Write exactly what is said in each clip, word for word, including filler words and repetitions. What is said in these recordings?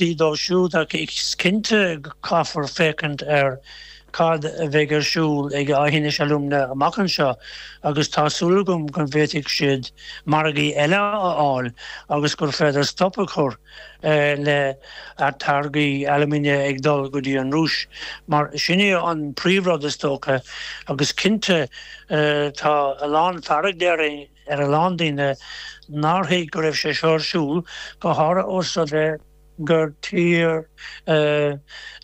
impleachtaí dóibh siúd ach is cinnte go caithfear féachaint ar cad a bheidh ar siúl ag Aughinish Alumina amach anseo agus tá súil agam go bhféadfaidh siad margaí eile a fháil agus gur féidir stop a chur le táirgí alúmanaim ag dul go dtí an Rúis mar sin é an príomhrud is dócha agus cinnte tá a lán fearg déarfainn ar a lán daoine nár thuig go raibh sé seo ar siúl, go háirithe ós rud é gur tír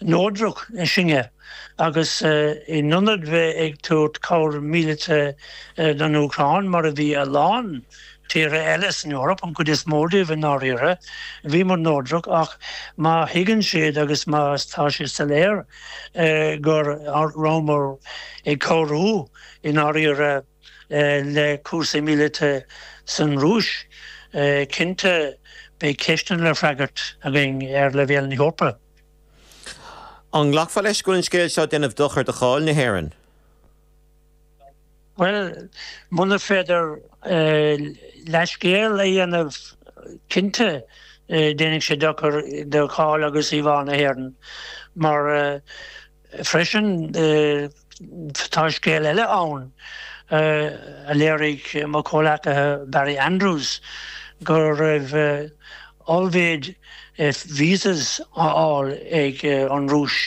neodrach sinne agus in ionad bheith ag tabhairt cabhair míleata don Úcráin, mar a bhí a lán tíortha eile san Eoraip, an chuid is mó díobh i ndáiríre, bhíomar neodrach ach má thuigeann siad agus má tá sé soiléir go rabhamar ag cabhrú i ndáiríre le cúrsaí míleata san Rúis, cinnte beidh ceisteanna le freagairt againn ar leibhéal na hEorpa. An nglacfá leis go bhfuil an scéal seo ag déanamh dochar do cháil na hÉireann? Bhuel, muna féidir leithscéal a dhéanamh, cinnte déanfaidh sé dochar do cháil agus íomhá na hÉireann mar freisin tá scéal eile ann a léirigh mo chomhleacaithe Barry Andrews go raibh ollmhéid visas á fháil ag an Rúis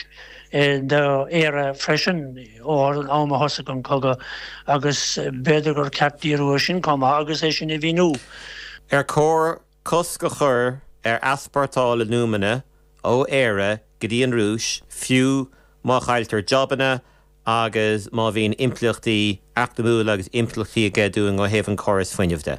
d'Éire freisin ón am a thosaigh an cogadh agus b'fhéidir gur ceart díriú air sin chomh maith agus é sin a mhíniú. Ar chóir cosc a chur ar easpórtáil alúmana ó Éire go dtí an Rúis, fiú má chailltear jabanna agus má bhíonn impleachtaí eacnamúla agus impleachtaí aige dúinn ó thaobh an córas fuinnimh de?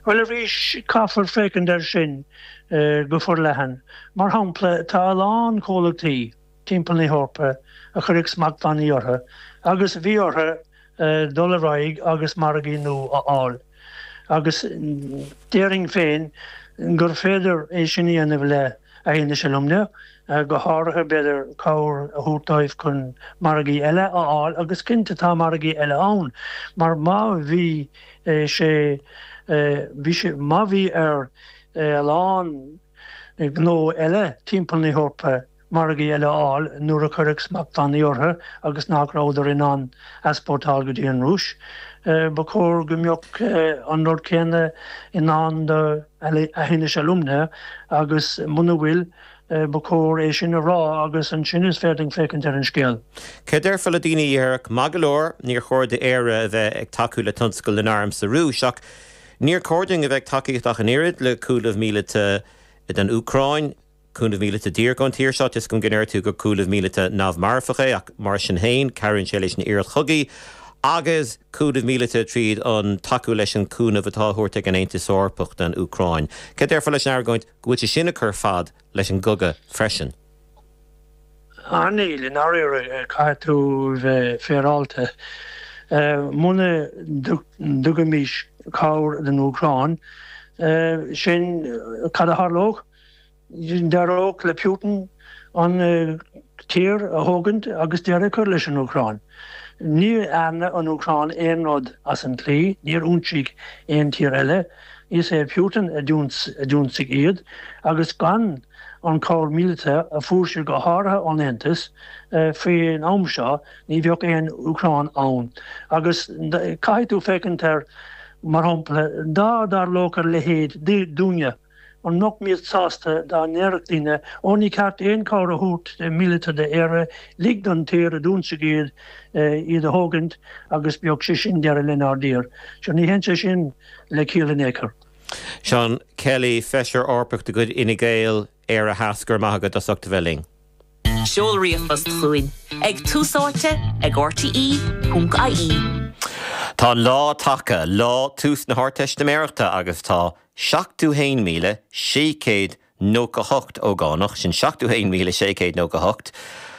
Bhuel, arís, caithfear féachaint air sin go forleathan. Mar shampla, tá a lán comhlachtaí timpeall na hEorpa a cuireadh smachtbhannaí orthu agus bhí orthu dul ar aghaidh agus margaí nua a fháil. Agus déarfainn féin gur féidir é sin a dhéanamh le Aughinish Alumina, go háirithe, b'fhéidir, cabhair a thabhairt dóibh chun margaí eile a fháil agus cinnte tá margaí eile ann mar má bhí sé, bhí sé, má bhí ar a lán gnó eile timpeall na hEorpa margaí eile a fháil nuair a cuireadh smachtbhannaí orthu agus nach rabhadar in ann easpórtáil go dtí an Rúis. Ba chóir go mbeadh an rud céanna i ndán do Aughinish Alumina agus muna bhfuil, ba chóir é sin a rá agus ansin is féidir féachaint ar an scéal. Céard a déarfá le daoine a déarfadh, maith go leor, níor chóir d'Éire a bheith ag tacú le tionscal na n-arm sa Rúis ach níor chóir dúinn a bheith ag tacaíocht ach an oiread le cúnamh míleata don Úcráin, Cúnamh míleata díreach ón tír seo, tá a fhios agam go ndeir tú gur cúnamh míleata neamh-mharfach é ach mar sin féin cabhraíonn sé leis an iarracht chogaidh agus cúnamh míleata tríd an tacú leis an cúnamh atá á thabhairt ag an Aontas Eorpach don Úcráin. Céard a déarfá leis an argóint go bhfuil sé sin ag cur fad leis an gcogadh freisin? Ah níl, i ndáiríre, caithfidh tú bheith féaráilte. Muna dtugaimis cabhair don Úcráin, sin cad a tharlódh? D'éireodh le Putin an tír a thógaint agus deireadh a chur leis an Úcráin. Ní dhearna an Úcráin aon rud as an tslí, níor ionsaigh aon tír eile. Is é Putin a d'ionsaigh iad agus gan an chabhair mhíleata a fuair siad go háirithe ón Aontas faoin am seo ní bheadh aon Úcráin ann. Agus caithfidh tú féachaint air mar shampla dá dtarlódh a leithéid dúinne. An mbeadh muid sásta dá ndéarfadh daoine, 'Ó, ní ceart aon chabhair a thabhairt míleata d'Éire, lig don tír a d'ionsaigh iad, iad a thógaint agus bheadh sé sin deireadh lenár dtír'. Sure, ní théann sé sin le ciall in aon chor. Seán Kelly, Feisire Eorpach de chuid Fhine Gael, Éire Theas, go raibh maith agat as ucht a bheith linn. Seol ríomhphost chugainn ag Tús Áite ag rte ponc ie. Tá an lá tagtha, lá tús na hArdteistiméireachta agus tá seachtó haon míle sé chéad nócha hocht ógánach, sin seachtó haon míle sé chéad nócha hocht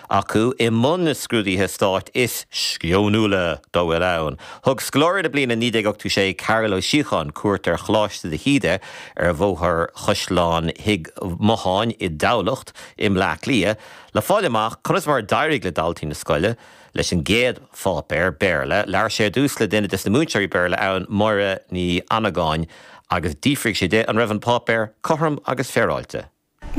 acu, i mbun na scrúduithe stáit is sceonúla dá bhfuil ann. Thug scoláire na bliana naoi déag ochtó sé, Karol Ó Síocháin, cuairt ar Choláiste de hÍde ar Bhóthar Chaisleán Thigh Motháin i dTamhlacht i mBleá Cliath le fáil amach conas mar a d'éirigh le daltaí na scoile leis an gcéad pháipéar Béarla. Labhair sé ar dtús le duine des na múinteoirí Béarla ann, Máire Ní Annagáin, agus d'fhiafraigh sé di an raibh an páipéar cothrom agus féaráilte.